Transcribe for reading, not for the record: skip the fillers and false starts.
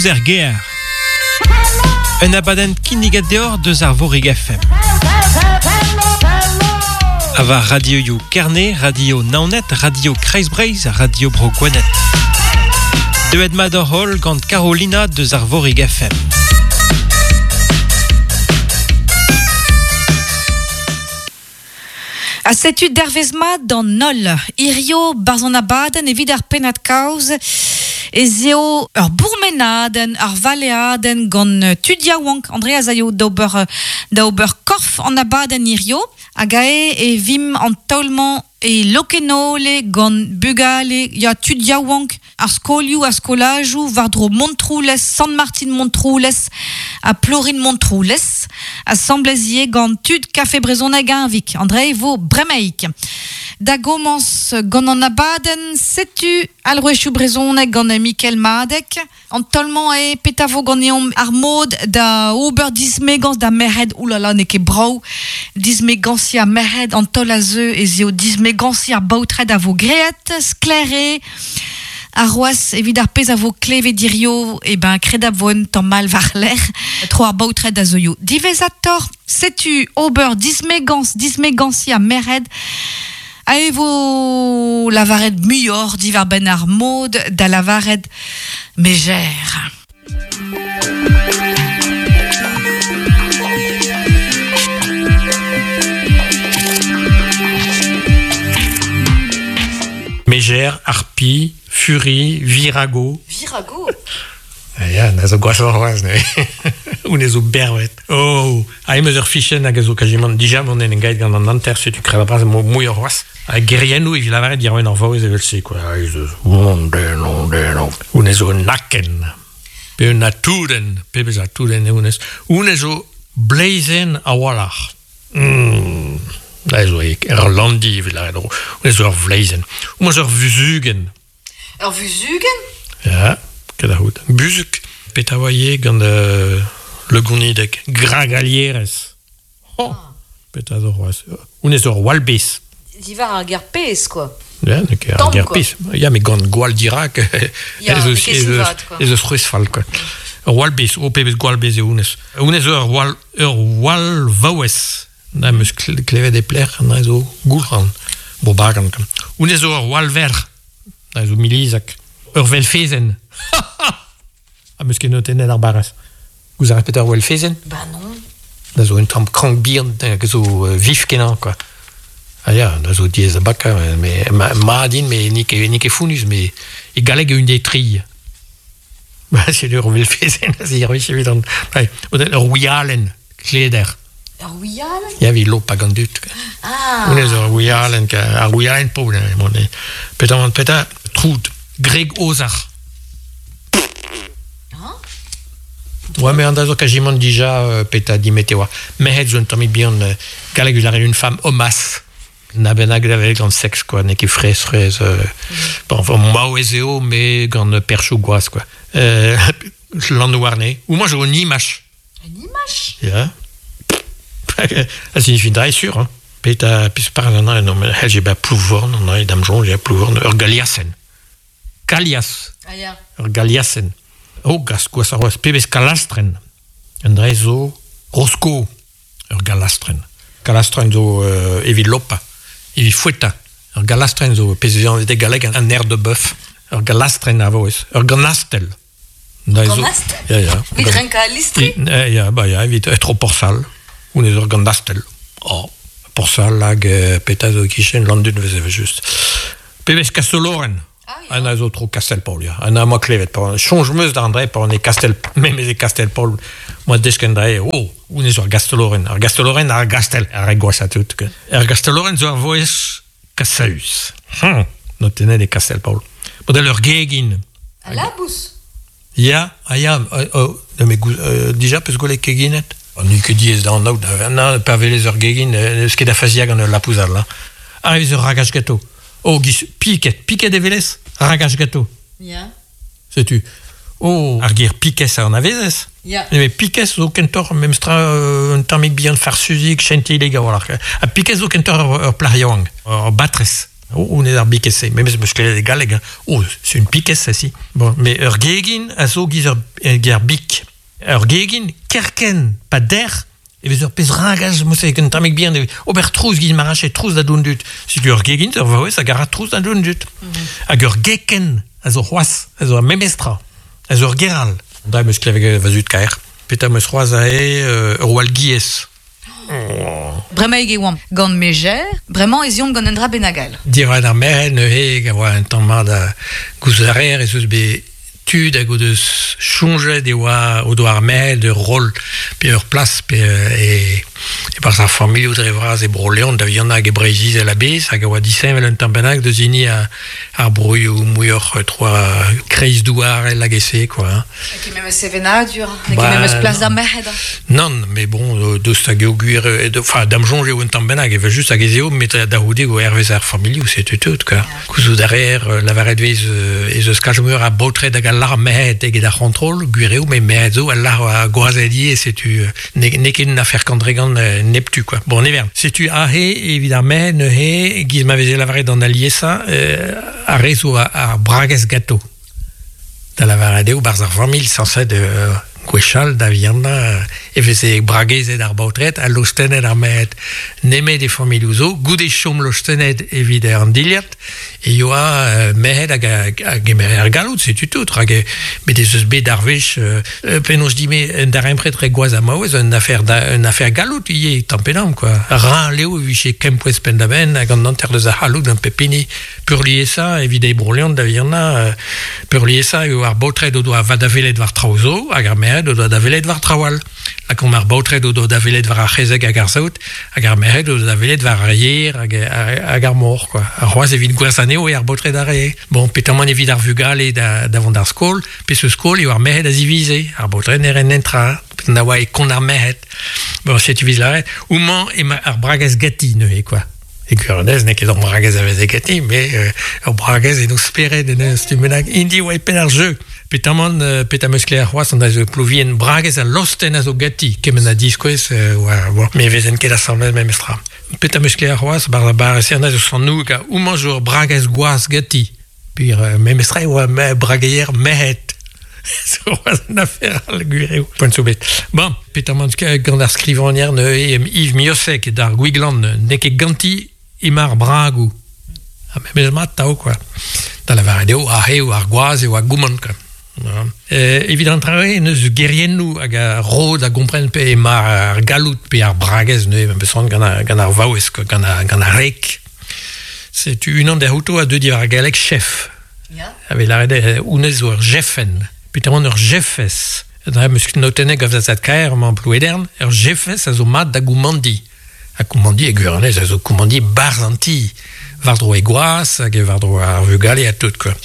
Trouz er gêr. Un abadenn kinniget deoc'h deus ar Vorig FM. Ha war radioioù Kerne, Radio Naoned, Radio Kreiz Breizh, Radio Bro Gwened. Deuet mat hoc'h holl gant Carolina deus ar Vorig FM. Ha setu dervezh mat d'an holl. Hirio, barzh an abadenn evit ar pennad-kaoz, ez eo ur bourmenadenn, ur valeadenn gant tud yaouank. Andrea az aio d'ober da ober korf an abadenn hirio. Hag ae e vimp an taol-mañ e Lokenole gant bugale, ya tud yaouank ar skolioù ha skolajoù war-dro Montroulez, Sant-Martin-Montroulez ha Plorin-Montroulez, asambles ivez gant tud Kafe Brezhoneg Eñvig. An dra e vo bremaik. Da gomañs gant an abadenn, setu alc'hwezhioù brezhoneg gant Mikel Madeg. An taol-mañ eo petra vo ganeomp ar mod da ober dismegañs da merc'hed. Oulala, n'eo ket brav dismegañsiñ ar merc'hed. An taol a zeu ez eo dismegañsiñ ar baotred a vo graet. Sklaer eo ar c'hoazh evit ar pezh a vo klevet hirio, e ben kredabl vo un tamm all war-lerc'h tro ar baotred a zeuio diwezhatoc'h. Setu ober dismegañs, dismegañsiñ ar merc'hed. A e vo lavaret muioc'h diwar-benn ar mod da lavaret mejer. Mejer, Harpie, Furie, Virago. Virago? Ah ya, na zo gwashoc'h c'hoazh neuze. Honnezh zo bervet. Oh, ha em eus ur fichenn hag a zo kazimant dija mont en gaet gant an hanter, setu kreñv bras muioc'h c'hoazh. Ha geriennoù evit lavaret diarbenn ar vaouez evel-se, quoi. Ez eus Honnezh zo un aken, pe un atoudenn, pebezh atoudenn eo honnezh. Honnezh zo bleizenn a-walc'h. Mm. Da zo ur landi evit lavaret. Honnezh zo ur vleizenn. Honnezh zo ur vuzugenn. Ur vuzugenn? Ya, ket a c'hoût. Buzhug, petra oa ivez gant euh, Le Gonideg? Gragalierez. Oh, petra zo c'hoazh? Honnezh zo ur walbez. Diwar ar ger pezh, quoi. Ya, n'eo ket ar Tamm, ger quoi. pezh. Ya, met gant gwall dirak Ya, ez n'eo eus, ket ez eus, vat, quoi. ez eus c'hwezh fall, quoi. Ur walbez, oh, pebezh gwallbez eo honnezh. Honnezh zo ur wall, ur wall vaouez. Na 'm eus klevet e pelec'h, na zo Goulc'han, Bourbagan. Honnezh zo ur wallverc'h, na zo Milizag. Ur velfezenn. Ha 'm eus ket notennet ar barrez. Gouzout a rez petra ur welfezenn? Bah non. Da zo un tamm krank bihan hag zo vif-kenañ, quoi. Ah ya, da zo diaes da bakañ, mais mat int, mais n'eo ket, n'eo ket fonnus, mais e galleg eo un des tri. Setu ur velfezenn a servij evit an... Ur wialenn, kleder. Ur wialenn? Ya, evit lopañ gant dud. Ah! Honnezh ur wialenn, ar wialenn pobl, petra, petra, troud, Greg Ozar. Ah? Ouais, mais an da zo kajimant dija petra dimete oa. Merc'hed zo un tammig bihan, galleg eus une femme homasse. Na bennak da vel gant seks, quoi, n'eo ket fraezh, fraezh. Euh, mm. Bon, enfin, maouez eo, mais gant perchoù gwaz, quoi. Euh, Lann-Warne. Ou moi, j'ai un image. Un image Ya. A signifie dra sur, hein. Peta, pis par an non, mais j'ai ba Plouvorn, an dam soñj, ya Plouvorn, ur galiasenn. Kalias. Ah ya. Ur galiasenn. Oh, gas gwazh ar c'hoazh. Pebezh kalastrenn. An dra zo Rosko. Ur galastrenn. Kalastrenn zo euh, evit lopañ, evit foetañ. Ur galastrenn zo pezh vez anvet e galleg un air de bœuf. Ur galastrenn a vo Ur ganastell. Ganastell? Ya, ya. Evit renkañ al listri? Ya, ba ya, evit tro Porsal. Honnezh ur ganastell. Oh, Porsal hag euh, petra zo e-kichen Landun vez evel-just. Pebezh Kastolorenn. Ah, ya. zo tro Kastell-Paol, ya. An a moa klevet. Pa soñj 'm eus da André, pa on e Kastell, memes e Kastell-Paol, moa desket dre, oh, honnezh ur Gastolorenn. Ar Gastolorenn, ar Gastell, ar re gwashañ tout. Ar Gastolorenn zo ar vouezh kasaüs. Hm, notennet e Kastell-Paol. Model ur gegin. A labous? Ya, ah ya, oh, mais euh, dija peus gwelet keginet? N'eo ket diaes da anaout, na, pa welez ur gegin, n'eus ket da faziañ gant ul labous all. Hein. Ah, ez ur ragach gato. Oh, giz piket, piket e welez? Ragach gato. Ya. Setu. Oh, ar ger pikez a anavezez? Ya. Mais pikez zo kentoc'h memestra un tammig bihan farsuzik, chentilek a-walc'h. Ha pikez zo kentoc'h ur plac'h yaouank, ur batrez. Oh, on est ar bikez-se. Memes meus klevet e galleg, hein. Oh, c'est une piquesse, celle-ci. Bon, mais ur gegin a zo giz ur ger bik. Ur gegin, kerken, pa der, e vez ur pezh ragaj, mouse un tammig bihan, e ober trouz giz marache trouz da doun dut. Setu ur gegin, ur vaouez hag a ra trouz da doun dut. Hag ur geken a zo c'hoazh, a zo ar memestra, a zo ur geral. Da meus klevet va zud kaer. Petra meus c'hoazh aze, ur wall giez. Bremaik e oamp gant Mejer, bremañ ez eomp gant un dra bennak all. Diwar ar merc'hed neuze, a oa un tamm mat a gouzout a reer ez eus bet tud hag o deus soñjet e oa o doa ar merc'hed ur roll pe ur plas pe e e-barzh ar familhoù dre vras e Bro-Leon da vihanañ hag e Breizh-Izel a-bezh hag a oa disheñvel un tamm bennak deus hini ar broioù muioc'h tro kreizdouarel hag e-se quoi hein. N'eo ket memes sevenadur, n'eo ket memes plas d'ar merc'hed. Nann, mais bon, deus hag eo gwir, enfin, da'm soñj eo un tamm bennak, evel-just hag ez eo, met da c'houde eo hervez ar familhoù, setu tout, quoi. Gouzout a reer, lavaret vez ez eus kalz meur a baotred hag a lar merc'hed eget ar c'hontrol, gwir eo, met merc'hed zo a lar ar gwazed ivez, setu n'eo ket un afer kantregan neptu, quoi. Bon, ne vern. Setu aze, evit ar merc'hed neuze, giz ma veze lavaret an aliesañ, ar re zo ar bragez ganto. Da lavaret eo, 'barzh ar familh sañset gwechall da vihanañ e veze bragezet ar baotred ha lostennet ar merc'hed. Nemet e familhoù zo, goude chom lostennet evit an dilhad, e yoa merc'hed hag a gemere ar galloud, setu tout. Rak bet ez eus bet ar wech, penaos dit-me, un darempred re gwaz ha maouez, un afer, un afer galloud ivez, tamm pe damm, quoi. Ral eo e vije kempouez penn-da-benn hag an hanter deus ar c'halloud gant pep hini. Peurliesañ, evit e Bro-Leon da vihanañ, peurliesañ eo ar baotred o doa va da welet war traoù zo hag ar merc'hed o doa da welet war traoù all. Lakaomp ar baotred o doa da welet war ar c'hezeg hag ar saout hag ar merc'hed o doa da welet war ar yer hag, hag ar mor. Quoi. Ha c'hoazh evit gwerzhañ anezho eo ar baotred a rae. Bon, petamant evit ar vugale da, da vont d'ar skol, peseurt skol eo ar merc'hed a zivize. Ar baotred ne raent netra, na oa e kont ar merc'hed. Bon, setu 'vez lâret, homañ emañ ar bragez ganti neuze, quoi. E gwirionez n'eo ket ur bragez a veze ganti, met ur bragez en o spered en un stumm bennak. Int oa e penn ar jeu. Petamant, petra 'm eus klevet c'hoazh, an zo plouvien bragez ha lostenn a zo ganti, kement a diskouez oa, bon, me vezen ket asambles memestra. Petra 'm eus klevet c'hoazh, bar bar se an zo sant-Noug, ha homañ zo ur bragez gwaz ganti. Peogwir memestra e oa brageier merc'hed. Zo c'hoazh un afer all, gwir eo. Poent zo bet. Bon, petamant gant ar skrivagner neuze Yves Miossec d'ar Gwiglan, n'eo ket ganti emañ ar bragoù. Ha memes mat tav, quoi. Da lavaret eo, aze eo ar gwaz eo ar goumant, quoi. Evit an traoù n'eus geriennoù hag a ro da gompren pe emañ ar galloud pe ar bragez neuze, memes gant ar, gant ar vaouez, quoi, gant ar, gant ar rek. Setu unan dezhouto a deu diwar ar galleg chef. Ya. A vez lâret honnezh zo ur jefenn. Petamant ur jefez. Dre 'm eus notennet gant va zad-kaer emañ Plouedern, ur jefez a zo mat da goumandiñ. Ha koumandiñ e gwirionez a zo koumandiñ 'barzh an ti. War-dro e gwaz hag war-dro ar vugale ha tout quoi.